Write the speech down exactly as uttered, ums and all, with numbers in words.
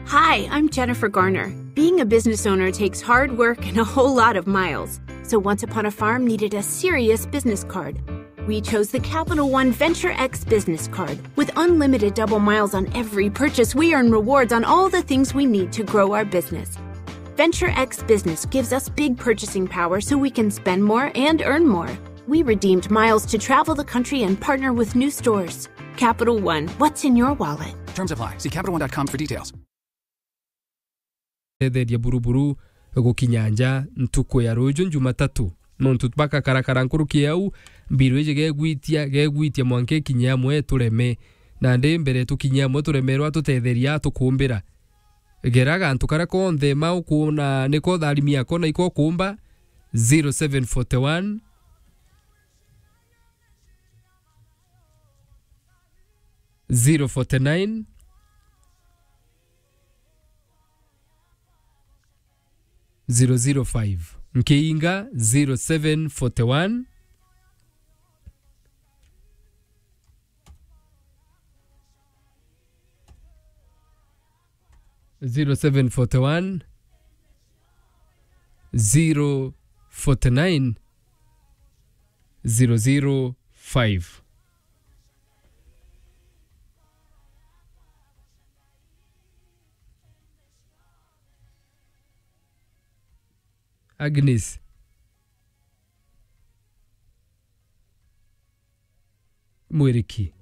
Hi, I'm Jennifer Garner. Being a business owner takes hard work and a whole lot of miles. So Once Upon a Farm needed a serious business card. We chose the Capital One Venture X business card. With unlimited double miles on every purchase, we earn rewards on all the things we need to grow our business. Venture X Business gives us big purchasing power so we can spend more and earn more. We redeemed miles to travel the country and partner with new stores. Capital One, what's in your wallet? Terms apply. See Capital One dot com for details. Tetheria buruburu gukinya nja ntuku ya ruju Jumatatu. Nontu bakakarakara nkuruki ya au, mbiru iji gegwitia, gegwitia mwanka ikinye amwe tureme. Nandi mbere tukinye amwe turemerwa, tutetheria tukumbira. Gera gantu karia konthe ma ukuona niko tharimi yako na iko ukumba, zero seven forty one, zero forty nine, zero zero five. Nkiinga zero seven forty one, zero seven forty one, zero forty nine, zero zero five. Agnes. Mwiriki.